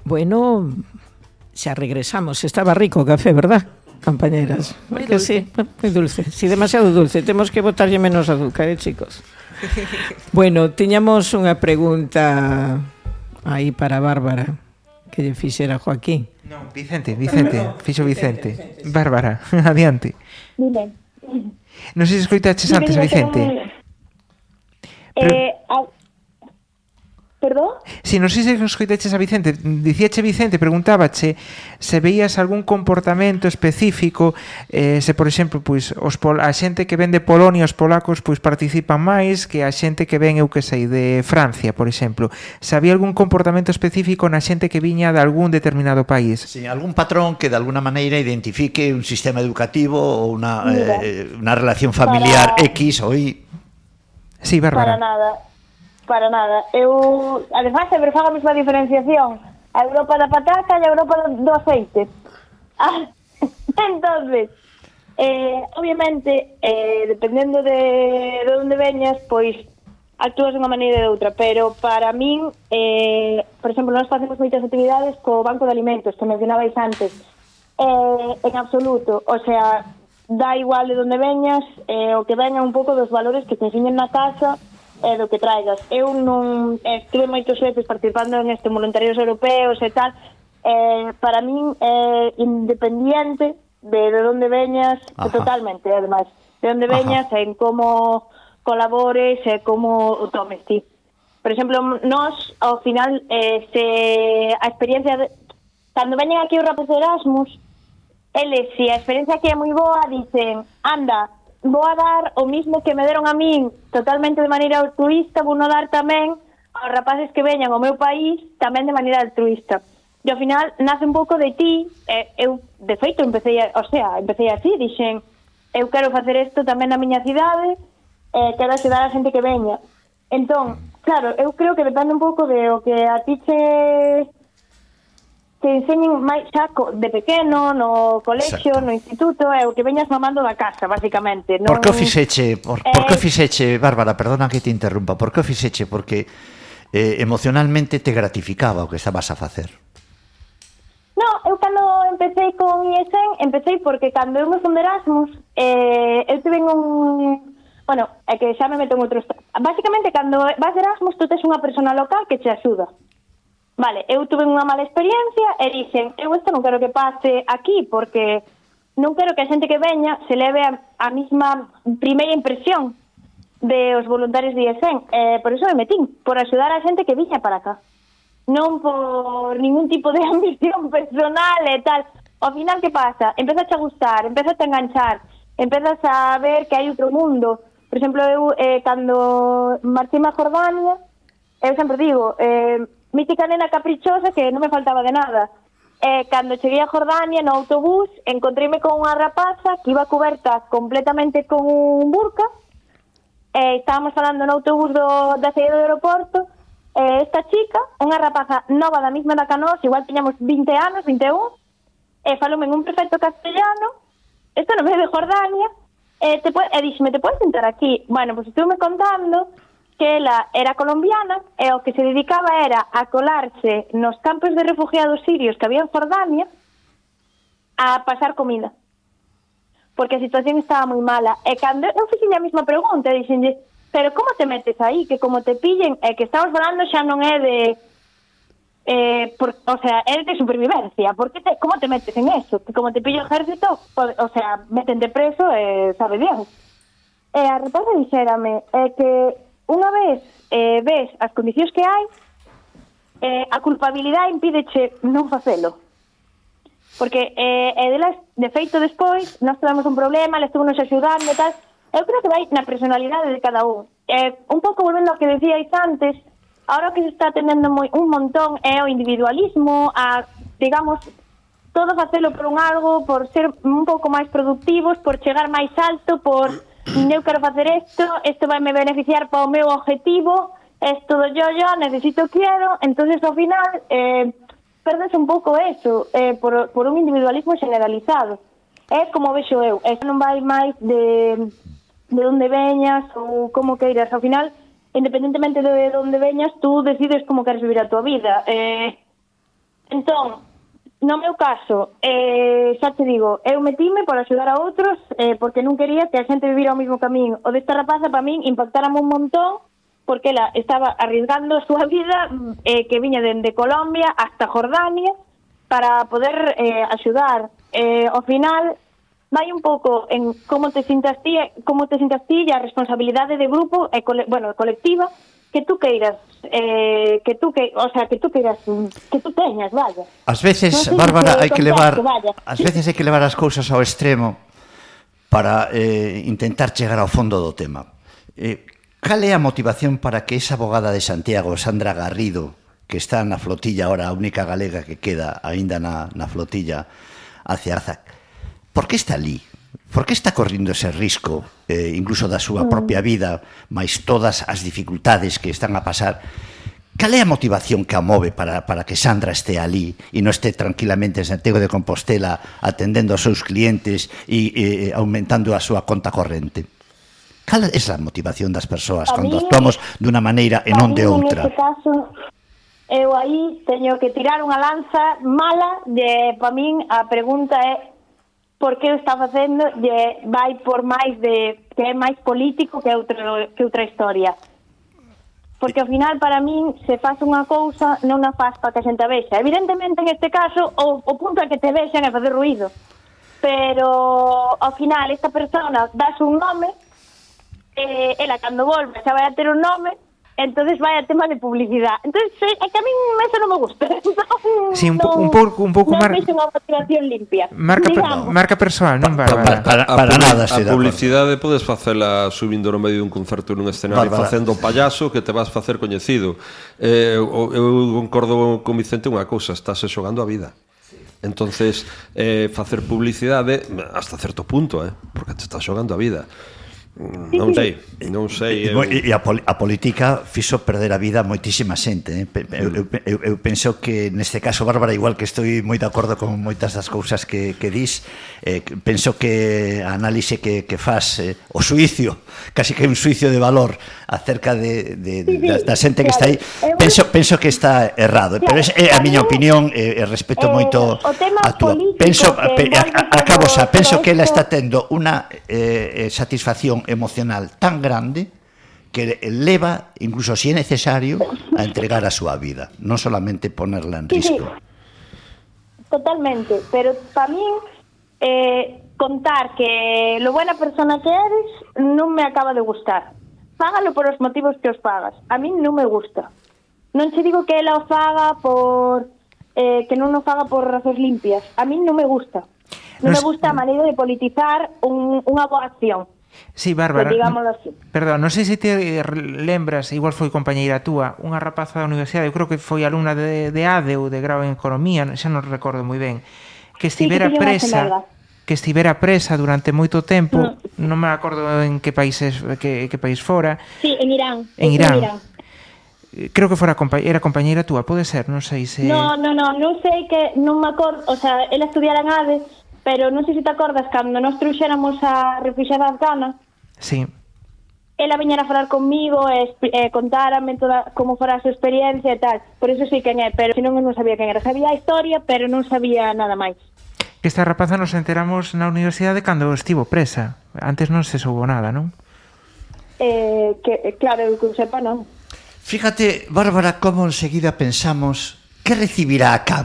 Bueno, xa regresamos. Estaba rico o café, verdad, compañeras? Moi Que dulce. sí, moi dulce. Si, demasiado dulce. Temos que botarlle menos azúcar, chicos? Bueno, tiñamos unha pregunta aí para Bárbara que lle fixera Joaquín. Non, Vicente, fixo Vicente. Bárbara, adiante. Dime. Non sei se escoitaches antes a Vicente. Perdón? Si, non sei se escoitaches a Vicente. Dicíache Vicente, preguntábache se veías algún comportamento específico, se, por exemplo, pois, a xente que ven de Polonia, os polacos, pois participan máis que a xente que ven, eu que sei, de Francia, por exemplo. Se había algún comportamento específico na xente que viña de algún determinado país. Sí, algún patrón que de alguna maneira identifique un sistema educativo ou unha relación familiar X ou Y. Sí, Bárbara. Para nada. Eu, además, sempre fago a mesma diferenciación. A Europa da patata e a Europa do aceite. Entonces, obviamente, dependendo de onde veñas, pois actúas de unha maneira e de outra, pero para min, por exemplo, nós facemos moitas actividades co Banco de Alimentos, que mencionabais antes, en absoluto, o sea, dá igual de onde veñas, o que veña un pouco dos valores que te enseñen na casa, do que traigas. Eu non estuve moitos veces participando en voluntarios europeos e tal. Para min é independiente de onde veñas. Totalmente, además, de onde veñas, en como colabores e como o tomes ti. Por exemplo, nós ao final se a experiencia cando veñen aquí os rapazes de Erasmus, eles, se a experiencia aquí é moi boa, dicen, anda, vou a dar o mismo que me deron a min totalmente de maneira altruista, vou no dar tamén aos rapaces que veñan ao meu país tamén de maneira altruista. E ao final nace un pouco de ti, eu de feito empecé así, dixen, eu quero facer isto tamén na miña cidade, quero axudar a xente que veña. Entón, claro, eu creo que depende un pouco de o que a ti te enseñen máis xa de pequeno, no colexio, no instituto, é o que veñas mamando da casa, basicamente. Por que o fixeche, por que o fixeche, Bárbara, perdona que te interrumpa, por que o fixeche? Porque emocionalmente te gratificaba o que estabas a facer. No, eu cando empecé con IESEN, empecé porque cando eu me fui de Erasmus, eu tive un... Bueno, é que xa me meto en outros... Basicamente, cando vas de Erasmus, tú tes unha persona local que te axuda. Vale, eu tuve unha mala experiencia e dixen, eu isto non quero que pase aquí porque non quero que a xente que veña se leve a mesma primeira impresión de os voluntarios de IESEN. Por iso me metín, por axudar a xente que viña para acá. Non por ningún tipo de ambición personal e tal. Ao final, que pasa? Empezas a gustar, empezas a enganchar, empezas a ver que hai outro mundo. Por exemplo, eu, cando marchei a Jordania, eu sempre digo... mítica nena caprichosa que non me faltaba de nada. Cando cheguei a Jordania no autobús, encontreime con unha rapaza que iba cuberta completamente con un burka. Estábamos falando no autobús da saída do aeroporto. Esta chica, unha rapaza nova da mesma da que nós, igual tiñamos 20 anos, 21, faloume en un perfecto castellano, isto no medio de Jordania, dixeme, te podes sentar aquí? Bueno, pues estuve contando que ela era colombiana e o que se dedicaba era a colarse nos campos de refugiados sirios que había en Jordania a pasar comida. Porque a situación estaba moi mala. E cando eu fixen a mesma pregunta, dixenlle, pero como te metes aí? Que como te pillen, que estamos falando xa non é de... o sea, é de supervivencia. Como te metes en eso? Que como te pillo o ejército, o sea, metente preso e sabe Dios. E a rapaza dixérame que unha vez ves as condicións que hai, a culpabilidade impídeche non facelo. Porque delas, de feito, despois, nós tivemos un problema, le estuvo nos axudando e tal. Eu creo que vai na personalidade de cada un. Un pouco volvendo ao que decíais antes, ahora que se está atendendo un montón é o individualismo, digamos, todo facelo por un algo, por ser un pouco máis productivos, por chegar máis alto, por... eu quero facer isto vai me beneficiar para o meu objetivo, isto do yo, necesito, quiero, entonces ao final perdes un pouco eso, por un individualismo generalizado. É como vexo eu, non vai máis de onde veñas ou como queiras, ao final, independentemente de onde veñas, tú decides como queres vivir a tua vida. Entón, no meu caso, xa te digo, eu metíme para axudar a outros porque non quería que a xente vivira o mismo camiño. O desta rapaza, para min, impactárame un montón porque ela estaba arriesgando a súa vida que viña dende Colombia hasta Jordania para poder axudar. Ao final, vai un pouco en como te sintas ti e a responsabilidade de grupo e colectiva que tú queiras que tú teñas, vaya. Ás veces, Non sei Bárbara, se hai que levar vaya. ás veces hai que levar as cousas ao extremo para intentar chegar ao fondo do tema. Cal é a motivación para que esa abogada de Santiago, Sandra Garrido, que está na flotilla ahora, a única galega que queda aínda na flotilla hacia Arzac, por que está ali? Por que está correndo ese risco, incluso da súa propia vida, máis todas as dificultades que están a pasar? Cal é a motivación que a move para que Sandra este ali e non este tranquilamente en Santiago de Compostela atendendo aos seus clientes e aumentando a súa conta corrente? Cal é a motivación das persoas cando actuamos dunha maneira e non de outra? Neste caso, eu aí teño que tirar unha lanza mala para min a pregunta é por que o está facendo vai por máis que é máis político que outra historia. Porque ao final para min se faz unha cousa non a faz para que a xente a vexa. Evidentemente en este caso o punto é que te vexan é facer ruído. Pero ao final esta persona dás un nome, ela cando volve xa vai a ter un nome, entonces vai a tema de publicidade. Entonces é que a min eso non me gusta. Sí, un pouco non vexe unha motivación limpia. Marca persoal, non, Bárbara? Para nada, a publicidade podes facela subindo no medio dun concerto nun escenario facendo payaso que te vas facer coñecido. Eu concordo con Vicente unha cousa, estás xogando a vida. Entonces, facer publicidade hasta certo punto, porque te estás xogando a vida. Non sei. E a política fixo perder a vida a moitísima xente. Eu penso que neste caso, Bárbara, igual que estou moi de acordo con moitas das cousas que dis, penso que a análise que faz, o suicio, casi que un suicio de valor acerca da xente que está aí, penso que está errado, pero é a miña opinión e respeto moito a túa. Penso que ela está tendo unha satisfacción emocional tan grande que leva, incluso si é necesario, a entregar a súa vida, non solamente ponerla en risco. Totalmente, pero para min contar que lo buena persona que eres non me acaba de gustar. Fágalo por os motivos que os pagas. A min non me gusta. Non che digo que ela o faga por que non o faga por razóns limpias. A min non me gusta. Non me gusta a maneira de politizar unha boa acción. Sí, Bárbara, así. Perdón, non sei se te lembras, igual foi compañeira túa, unha rapaza da universidade, eu creo que foi alumna de ADE ou de grau en Economía, xa non recordo moi ben, que estivera presa durante moito tempo, non me acordo en que país fora. Sí, en Irán. En Irán. Creo que era compañeira túa, pode ser, non sei se... Non sei que, non me acordo, o sea, ela estudiara en ADE, pero non sei se te acordas cando nos trouxéramos a refuxiada afgana. Sí. Ela viñera a falar comigo e contárame toda como fora a súa experiencia e tal. Por eso sei quen é, pero senón non sabía quen era. Sabía a historia, pero non sabía nada máis. Que esta rapaza nos enteramos na universidade cando estivo presa. Antes non se soubo nada, non? Claro, que sepa non. Fíjate, Bárbara, como enseguida pensamos que recibirá a cambio